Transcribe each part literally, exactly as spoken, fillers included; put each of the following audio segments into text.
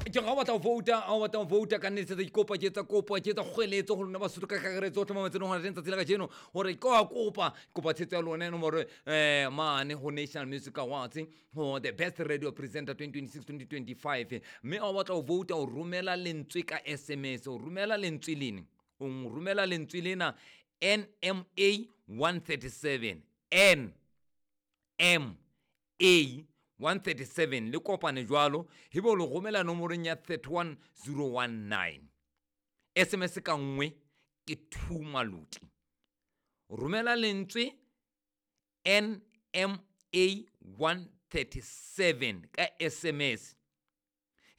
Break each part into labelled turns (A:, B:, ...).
A: Ke ga o batla ho vouta, ha o batla ho vouta ka nnete ke kopa ke etsa kopo, ke etsa kgweletso ho lona Basotho ka kakaretso hohle mo matshelong hona teng tsatsi la kajeno hore ke wa kopa, kopa tshehetso ya lona nomoro eh mane ho National Music Awards ho the best radio presenter twenty twenty-six twenty twenty-five. Mme ha o batla ho vouta o romela lentswe ka S M S, o romela lentswe lene, o romela lentswe lena N M A one thirty-seven, N M A one thirty-seven le kopane jwalo ebe o le romela nomorong ya thirty-one zero one nine. S M S ka nngwe ke two maluti. Romela lentswe N M A one thirty-seven ka S M S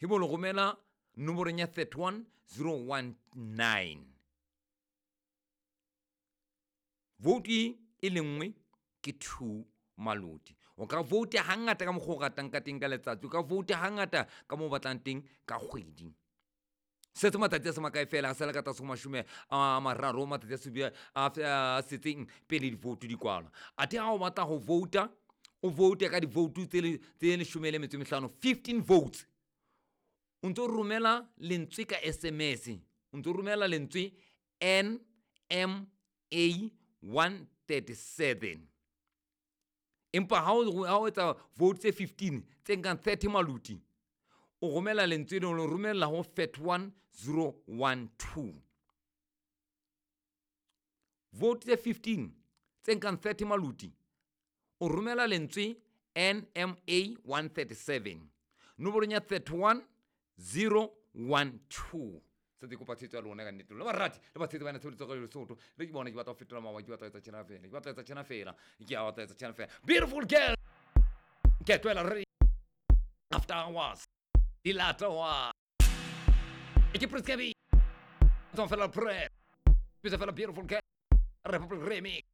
A: ebe o le romela nomorong ya thirty-one zero one nine. Vote e le nngwe ke two maluti. O ka vote hangata ka mokgwa o ratang ka teng ka letsatsi, o ka vote hangata ka moo o batlang teng ka kgwedi. Setse matsatsi a se makae fela, a sala ka tlase ho mashome a mararo, matsatsi a supe a a setseng pele di-vote di kwalwa. Athe ha o batla ho vouta, o vote ka di-vote tse le, tse leshome le metso e mehlano, fifteen votes. O ntso romela lentswe ka S M S, o ntso romela lentswe N M A one thirty-seven. Empa ha o, ha o etsa vote tse fifteen tse nkang thirty maluti, o romela lentswe leo, o romela ho thirty-one zero one two. Vote tse fifteen tse nkang thirty maluti, o romela lentswe N M A one thirty-seven nomorong ya thirty-one zero one two. Se ke kopa tshehetso ya lona ka nnete. Lona barati le batshehetsi ba tshebeletso ya Lesotho. Re ke bona ke batla ho fetola mawa, ke batla ho etsa tjena fela, ke batla ho etsa tjena fela, ke a batla ho etsa tjena fela. Beautiful girl. Ke twela re after hours. Dilata wa. Ke Prince Kaybee. Tswa fela pre. Bitsa fela beautiful girl. Republic Remix.